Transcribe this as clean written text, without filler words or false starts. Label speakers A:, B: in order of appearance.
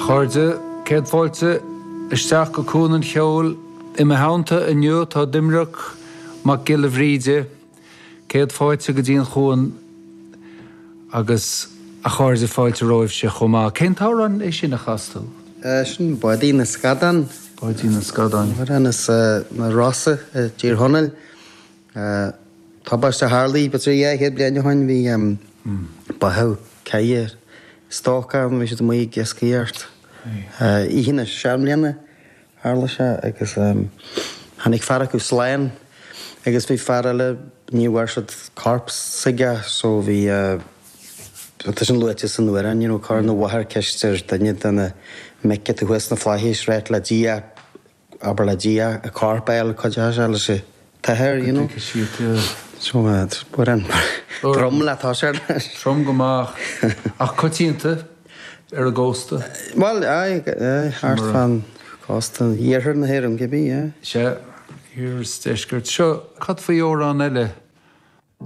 A: Chairde, céad fáilte isteach go Cuan an Cheoil. I mo theannta inniu tá Doimnic Mac Giolla Bhríde. Céad fáilte go dtí an Chuan agus a chairde fáilte romhaibhse chomh maith. Cén t-amhrán é sin a chas tú?
B: Sin Báidín na Scadán.
A: Báidín na Scadán.
B: Amhrán as na Rosa i dTír Chonaill. Tubaiste a tharlaigh b'fhéidir 200 bliain ó shin, bhí báthadh caille stoc ann, bhí siad amuigh ag iascaireacht. Oíche na seanbhliana tharla sé agus tháinig fear acu slán agus bhí fear eile, ní bhfuair siad corp s'aige so bhí, tá sin luaite san amhrán, you know, chuir an mháthair ceist ar duine de na mic atá thuas sna flaithis, ráit le Dia abair le Dia a corp a fháil cuid as leis an t-athair, you know. So amhrán trom le toiseacht leis.
A: Trom go maith ach coitianta ar an gcósta.
B: Bhuel, aye, aye, thart fán chósta, iarthar na hÉireann cibé, yeah.
A: Sea, iarthar is deisceart. Seo, cad faoi amhrán eile?